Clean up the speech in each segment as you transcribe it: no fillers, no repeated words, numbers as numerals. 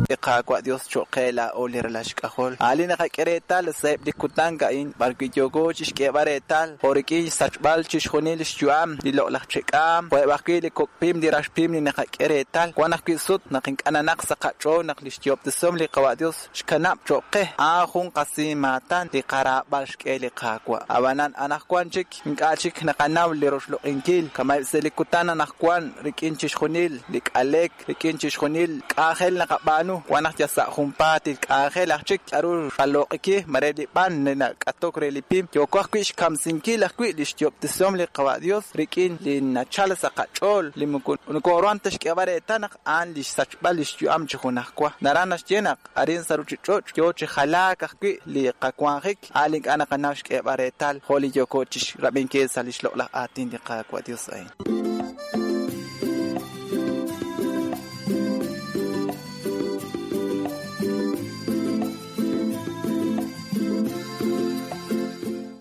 Li Qaawa' Dios cho'q qe laa'o li ralal xk'ajol. A' li naqak'e reetal sa'eb' li kutan a'in b'arwi' yooko chixk'eeb'al reetal jo' rik'in xsachb'al chixjunil li xyu'am li loq'laj che'k'aam, jo'eb' ajwi' li kok' pim li rax pim li naqak'e reetal. Wan ajwi' sut naq ink'a' nanaq sa' qach'ool naq li xyoob'tesihom li Qawa' Dios xkanab' cho'q qe, a'an jun qasimaatan li qaraab'al xk'e li Qaawa'. Ab'anan anaqwan chik ink'a' chik naqanaw li roxloq'inkil, kama'eb' sa' li kutan anaqwan rik'in chixjunil li k'alek, rik'in chixjunil k'anjel naqab'aanu, wan naq yal sa' junpaatil k'anjel aj chik k'aru xqaloq'iki, mare li b'an li nak'atok re li pim, yooko ajwi' xkamsinkil ajwi' li xyoob'tesihom li Qawa' Dios rik'in li nachal sa' qach'ool li moko nokooruhan ta xk'eeb'al reetal naq a'an li xsachb'al li xyu'am chi junajwa. Naraj naxye naq arin sa' ruuchich'och' yo chi jalaak ajwi' li qawanjik, a' li ink'a' naqanaw xk'eeb'al reetal jo' li yooko chi xrab'inkil sa' li xloq'laj aatin li Qaawa' Dios a'in.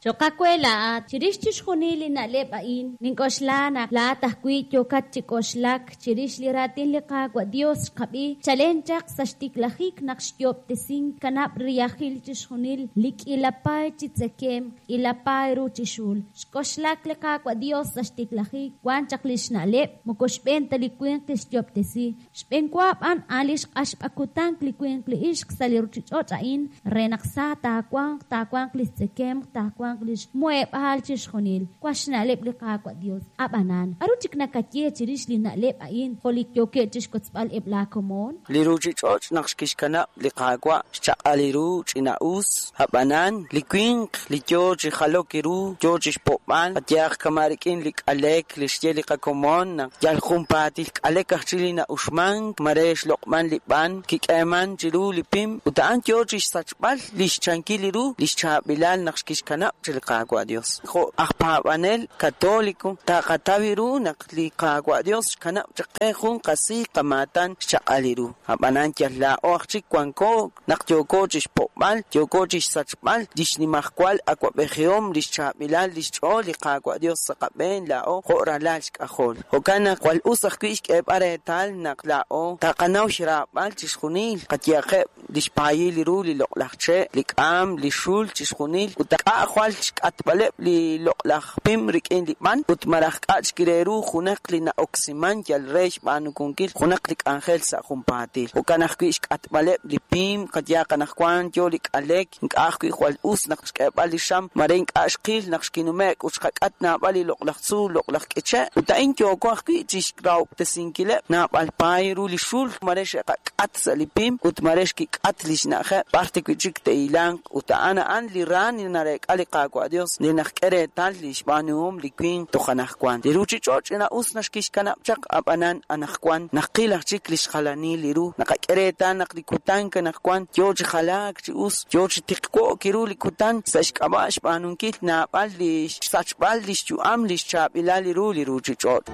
Cho'q aawe laa'at, chirix chixjunil li na'leb' a'in, nink'oxla naq laa'at ajwi' yookat chi k'oxlak chirix li raatin li Qaawa' Dios xqab'i chalen chaq sa' xtiklajik naq xyo'ob'tesink kanab' riyajil chixjunil li k'iila paay chi tzekemq, k'iila paay ru chi xul. Xk'oxlak li Qaawa' Dios sa' xtiklajik, wan chaq lix na'leb', moko xb'een ta li winq kixyo'ob'tesi, Xb'eenwa b'an a'an li xq'axb'akutank li winq li ixq sa' li ruuchich'och' a'in re naq sa taawanq, taawanq li xtzekemq, taawanq li xmuheb'aal chixjunil. Wank xna'leb' li Qaawa' Yos. Ab'anan, k'aru chik nakaye chirix li na'leb' a'in jo' li yookeb' chi xkotzb'al eb' laakomon? Li ruuchich'och' naq xkixkanab' li Qaawa' xchaq'al ru ch'ina'us, ab'anan li winq li yo chi jalok ru yo chi xpo'b'al, qayehaq kama' rik'in li k'alek li xye li qakomon naq yal junpaatil k'alek aj chik li na'uxmank, mare xloq'man li b'an kik'eeman chiru li pim ut a'an yo chi xsachb'al li xchankil ru li xchaab'ilal naq xkixkanab' chi li Qaawa' Dios. Jo' aj paab'anel katoliko taqataw ru naq li Qaawa' Dios xkanab' chaq qe jun qasiiq qamaatan xchaq'al ru. Ab'anan yal laa'o aj chik wanko naq yooko chi xpo'b'al, yooko chi xsachb'al li xnimajwal awab'ejihom, li xchaab'ilal li xch'ool li Qaawa' Dios sa' qab'een laa'o jo' ralal xk'ajol. Jo'kan naq jwal us ajwi' xk'eeb'al reetal naq laa'o taqanaw xraab'al chixjunil, qayehaqeb' li xpaayil ru li loq'laj che', li k'aam, li xul, chixjunil, ut k'a' jwal xk'atb'aleb' li loq'laj pim rik'in li b'an, ut malaj k'a' chik re ru junaq li na'oksiman yal re xb'aanukunkil junaq li k'anjel sa' junpaatil. Jo'kan ajwi' xk'atb'aleb' li pim, qayehaq anaqwan yo li k'alek, ink'a' ajwi' jwal us naq xk'eeb'al li xam, mare ink'a' xqil naq xkinume'k ut xqak'at naab'al li loq'laj tzuul, loq'laj k'iche', ut a'in yooko ajwi' chi xrahob'tesinkileb' naab'al paay ru li xul, mare xe'qak'at sa' li pim ut mare xkik'at li xna'ajeb' b'ar ta wi' chik te'hilanq, ut a'an a'an li ra li nareek'a li Qaawa' Dios li naxk'e reetal li xb'aanuhom li winq toj anaqwan. Li ruuchich'och' ch'ina'us naxkixkanab' chaq, ab'anan anaqwan naqil aj chik li xjalanil li ru, naqak'e reetal naq li kutan anaqwan yo chi jalaak chi us, yo chi tiqwo'k ru li kutan sa' xk'ab'a' xb'aanunkil naab'al li xsachb'al li xyu'am li xchaab'ilal li ru li ruuchich'och'.